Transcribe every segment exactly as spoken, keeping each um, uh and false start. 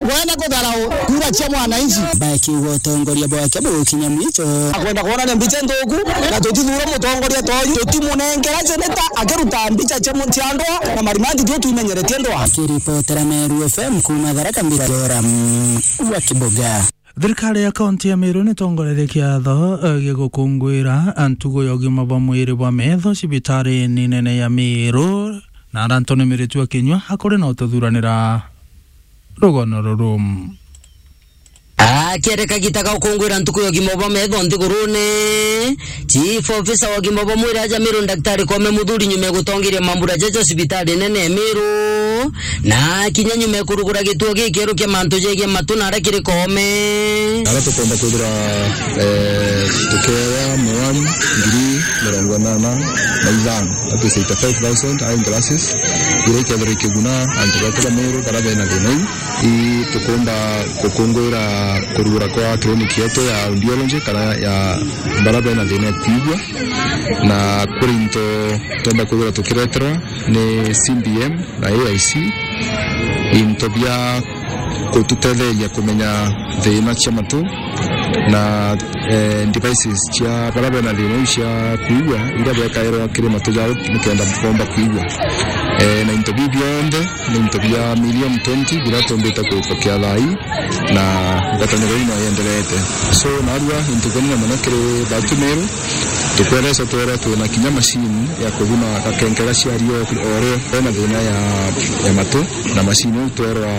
Kwenda kutharau kura cia mwananchi. Bakiuga utongoria bwake bugukinya mwicho. Akwenda kwonania mbica nthuku, na tutithuura mutongoria ta uyu, tutimunengera seneta akiruta mbica cia mu-, cia ndwaa na marimati tio twimenyeretie ndwaa. Akiripotera Meru F M kuuma Tharaka Mbira, Joram wa Kiboga. Thirikari ya kaunti ya Meru nitongoretie kiatho, eh, gia gukunguira ntugu ya ugima bwa mwiri bwa metho cibitari nene ya Meru, na Anthony Miritu wa Kinyua akuri na ututhuranira rugono ruru. Akiere kagita ga gukunguira ntuku ya ugima bwa metho nthigurune, Chief Officer wa ugima bwa mwiri aja Meru, Daktari Koome Muthuri, nyuma ya gutongeria mambura jaja cibitari nene ya Meru, na kinya nyuma ya kurugura gituo gikieru kia mantu jegie matu na aria kiri Koome. Ara tukomba kwithira, eh, tukewa mwani ngiri mirongo inana na ithano, that is eighty-five thousand eyeglasses, iria ikethirwa ikiguna antu betu ba Meru bara bena thina iu. I tukumba gukunguira kurugura kwa clinic yetu ya audiology kana ya bara bena thina ya kwigua, na kuri into tumba kwithira tukireterwa ni C B M na A I C, into bia gututetheria kumenya thina cia matu na, eh, devices cia bara bena thina iu cia kwigua, iria bekairwa kiri matu jao nikenda bomba kwigua. Eh, na into biu bionthe ni into bia million twenty biria tumbite kupokia thaa ii, na ngwataniro ino yenderete. So, narua into binene mono kiri batu Meru, tukwereca twera twina kinya machine ya kuthuna gakenkera cia rio o rio bena thina ya, ya matu, na machine iu twerwa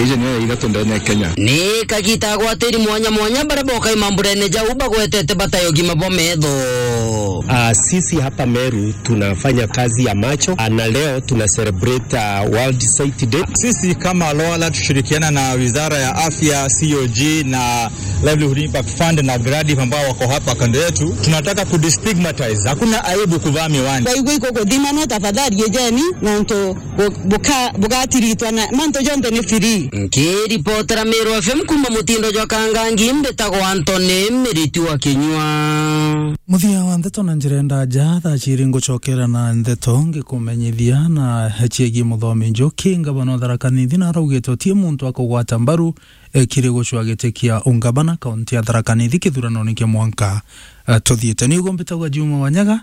iji niyo ya ithatu ndene ya Kenya. Ni kagita agwatiri mwanya mwanya baria bokai mamburene jau bagwetete bata ya ugima bwa metho. Ah, sisi hapa Meru tunafanya kazi ya macho, ah, na leo tuna celebrate, ah, World Sight Day. Sisi kama Loala tushirikiana na Wizara ya Afya, C O G na Livelihood Impact Fund na Gradiv ambao wako hapa kando yetu, tunataka kudestigmatize. Hakuna aibu kuvaa miwani. Kwa hivyo iko kuthimana, tafadhali ejeni, nontu bu-, buka-, bugatiritwa na mantu jonthe ni free. Nkiripotera Meru F M kuuma mutindo jwa Kangangi, mbitagwa Anthony Miritu wa Kinyua. Muthia wa ndeto na njira ya ndaja, thaa ciiri ngucokera na ndeto ngikumenyithia na ciegii Muthomi Njuki, ngavana wa Tharaka Nithi, na araugite uti muntu akugwata mbaru, eh, kiri gucua giti kia ungavana kaunti ya Tharaka Nithi kithuranone kia mwanka, eh, tuthiite. Ni uguo mbitagwa Juma Wanyaga,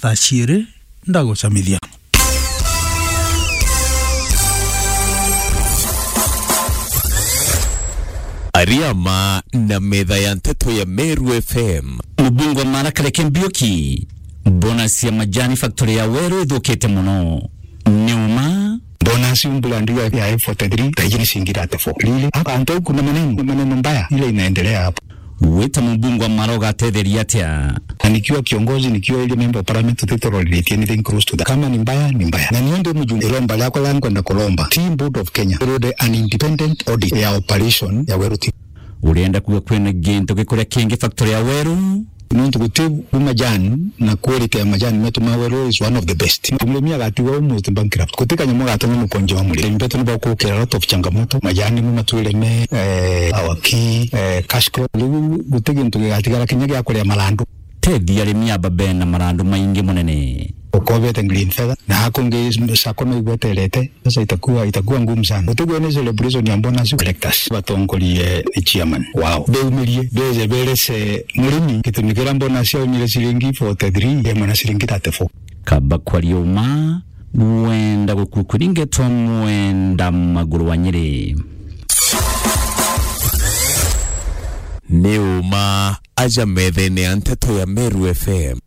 thaa ciiri ndagucamithia. Ariama na metha ya nteto ya Meru F M. Mubunge wa Mara Kareke Mbiuki, bonus ya majani factory ya Weru ithukite mono. Ni uma. Bonus mbura ndiga ya F forty-three, thaiji ni ciringi thirty-four. Really? Hapa antu kuna maneno, maneno mbaya ile inaendelea hapa. Wita mubunge wa Mara ugatetheria atia? Na nikiwa kiongozi, nikiwa ile member of parliament, tutororithie anything close to that. Kama ni mbaya, ni mbaya. Na niundu mujumbe iromba riakwa ria nkwenda kuromba Tea Board of Kenya irute an independent audit ya operation ya Weru Tea. Urenda kuga kwina gintu gikuria kingi factory ya Weru? Nontu guti bu majani na quality ya majani metu ma Weru is one of the best. Murimi agatigwa almost bankrupt. Guti kanyamu gatuma mukonjo wa murimi. Arimi betu ni bagukira a lot of changamoto. Majani mu matwire me, eh, our key, eh, cash crop. Riu guti gintu gigatigara kinya gia kuria marandu. Tethi arimi aba bena marandu maingi munene. Ukobete green feather. Na hakungi sako no igweterete. Sasa itakuwa, itakuwa ngumu sana. Utigwe ni celebration ya bonus collectors. Batongorie ni chairman wao. Beumirie, beze berese murimi. Gitumi kiria bonus yaumire ciringi forty-three, yemwe na ciringi thirty-four. Kaba kwaria uma, wenda gukukuringetwa mwenda maguru wa Nyeri. Ni uma aja methene ya nteto ya Meru F M.